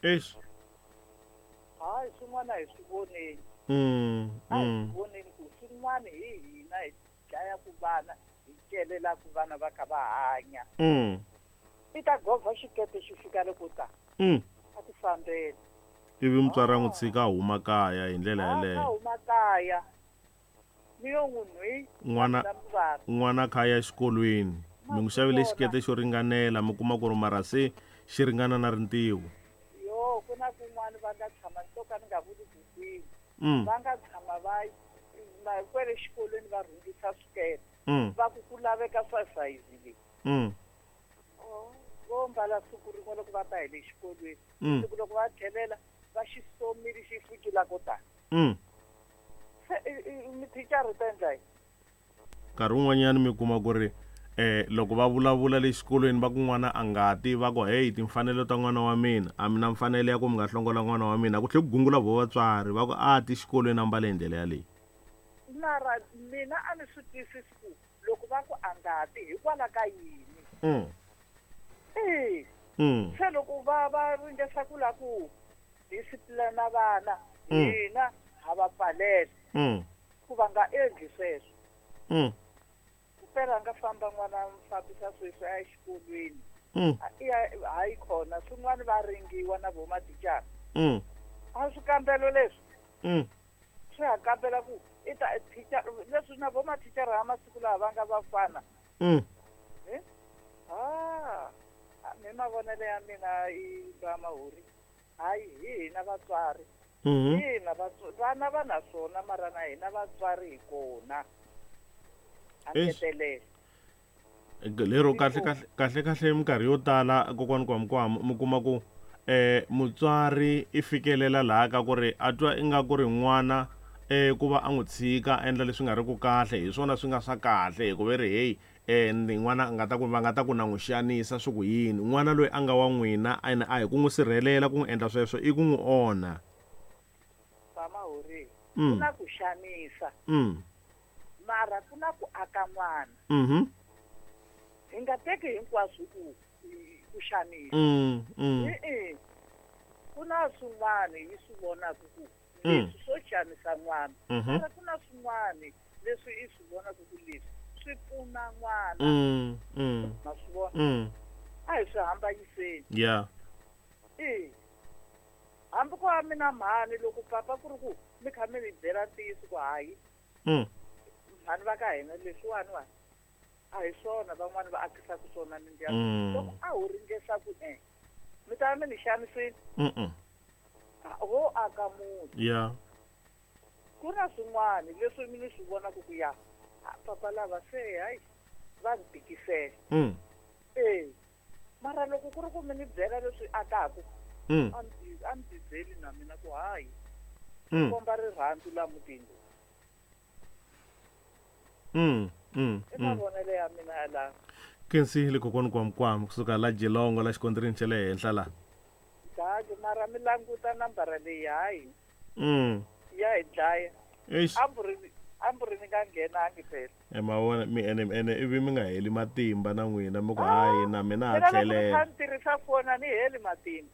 Eish. Hayi, swin'wana hi swi voneni. A hi swi voneni ku swin'wana hi hina hi dlayaku vana, hi celelaku vana va kha va hanya. I ta govha xikepe xi fika loko ta. A ti fambela. Ivi mutswari a n'wi tshika a huma kaya hi ndlela yaleyo. A huma kaya. Mi yo n'wi nhwi. N'wana n'wana kha ya exikolweni. Mi n'wi xavele xikete xo ringanela mi kuma ku ri mara se xi ringana na rintiho. Yo, ku na kun'wana va nga tshama ni to ka ni nga vuli ku kwihi. Va nga tshama va ma kwele xikolweni va rhungisa swikete. Va ku ku laveka swa sayizi leyi. Oh, vo mbala siku rin'we loko va ta hi le xikolweni. Siku loko va tlhelela va xi somile xi fikile ko tani. Se mithicara yi ta endla yini? Nkarhi wun'wanyana mi kuma ku ri loko va vulavula le xikolweni va ku n'wana a nga ti, va ku heyi timfanelo ta n'wana wa mina, a mi na mfanelo ya ku mi nga hlongola n'wana wa mina. Ku tlhe ku gungula vo vatswari va ku a ti xikolweni a mbale hi ndlela yaleyi. Mara mina a ni swi twisisi ku loko va ku a nga ti hikwalaho ka yini. E. Se loko va va ringesa ku lava ku discipline vana, hina ha va pfalela ku va nga endli sweswo. Kupela a nga famba n'wana a n'wi fambisa sweswi a ya exikolweni. I ya hayi khona swin'wana va ringiwa na vo mathicara. A swikambelo leswi swi ha kambela ku i ta thicara leswi na vo mathicara ha masiku lawa va nga vafana. Ah, mi mavonelo ya mina i ba mahuri. Hayi hi hina vatswari. Hi hina vana va na swona mara na hina vatswari hi kona. A ngetelela. Lero kahle kahle kahle kahle minkarhi yo tala kokwani Kwamkwam mi kuma ku mutswari i fikelela laha ka ku ri a twa ingaku ri n'wana ku va a n'wi tshika a endla leswi nga ri ku kahle hi swona swi nga swa kahle hikuva i ri heyi ni n'wana a nga ta ku va nga ta ku na n'wi xanisa swi ku yini n'wana loyi a nga wa n'wina ene a hi ku n'wi sirhelela ku n'wi endla sweswo i ku n'wi onha. Vamahori, ku na ku xanisa. Mara ku na ku aka n'wana. Hi nga teki hinkwaswo ku ku xanisa. E-e. Ku na swin'wana hi swi vonaka ku leswi swo xanisa n'wana. Mara ku na swin'wana leswi i swi vonaka ku leswi swi pfuna n'wana. Ma swi vona? A hi swi hambanyiseni. E. Hambi ku va mina mhani loko papa ku ri ku mi kha mi ni byela ntiyiso ku hayi. Mhani va ka hina leswiwani wani a hi swona van'wani va akisaka swona mindyangu. Loko a ho ringesa ku mi ta va mi ni xanisile. Ho aka muti. Ku na swin'wana leswi mi ni swi vonaka ku ya papa lava se hayi va ni tikisela. E. Mara loko ku ri ku mi ni byela leswi akaka a ni ti byeli na mina ku hayi. Komba rirhandzu la mutini. I mavonelo ya mina yalawo. Kensile kokwani Kwamkwam kusuka la Geelong la xikontirini xa le henhla la. Daki mara mi languta nambara leyi hayi. Ya hi dlaya. Eish. Amburi ni nga nghenangi phela. E mavona mi ene ene ivi mi nga heli matimba na n'wina mi ku hayi na mina ha tlhelela. Mina loko ni tirhisa foni a ni heli matimba.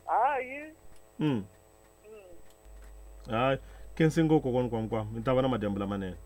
Hayi. Hayi khensi ngopfu kokwani Kwamkwam mi ta va na madyambu lamanene.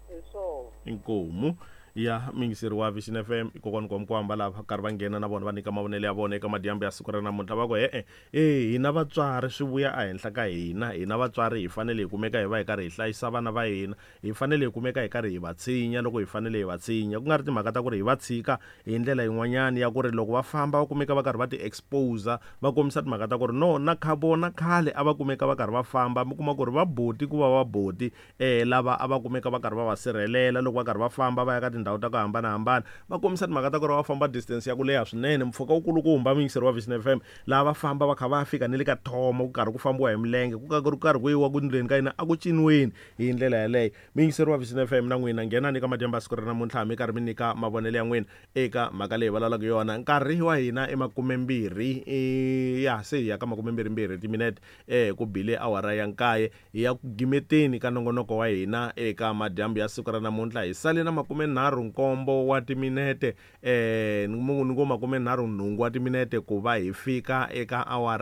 Hi swona. Inkomu ya muyingiseri wa Vision FM i kokwani Kwamkwam va lava karhi va nghena na vona va nyika mavonelo ya vona eka madyambu ya siku ra namuntlha va ku e-e e hina vatswari swi vuya ehenhla ka hina hina vatswari hi fanele hi kumeka hi va hi karhi hi hlayisa vana va hina hi fanele hi kumeka hi karhi hi va tshinya loko hi fanele hi va tshinya ku nga ri timhaka ta ku ri hi va tshika hi ndlela yin'wanyana ya ku ri loko va famba va kumeka va karhi va ti-expose va kombisa timhaka ta ku ri no na kha vona khale a va kumeka va karhi va famba mi kuma ku ri va boti ku va va boti lava a va kumeka va karhi va va sirhelela loko va karhi va famba va ya ka tindhawu ta ku hambanahambana va kombisa timhaka ta ku ri va famba distance ya ku leha swinene mpfhuka wu kulukumba muyingiseri wa Vision FM laha va famba va kha va fika ni le ka thomo ku karhi ku fambiwa hi milenge ku karhi ku karhi ku yiwa ku ndleni ka yina a ku ciniweni hi ndlela yaleyo muyingiseri wa Vision FM na n'wina nghenani eka madyambu ya siku ra namuntlha mi karhi mi nyika mavonelo ya n'wina eka mhaka leyi vulavulaka yona nkarhi wa hina i makumembirhi ya se hi ya ka makumembirhimbirhi timinete ku bile awara ya nkaye hi ya ku gimeteni ka nongonoko wa hina eka madyambu ya siku ra namuntlha hi sale na 37 wa timinete ni ngo 38 wa timinete ku va hi fika eka awara.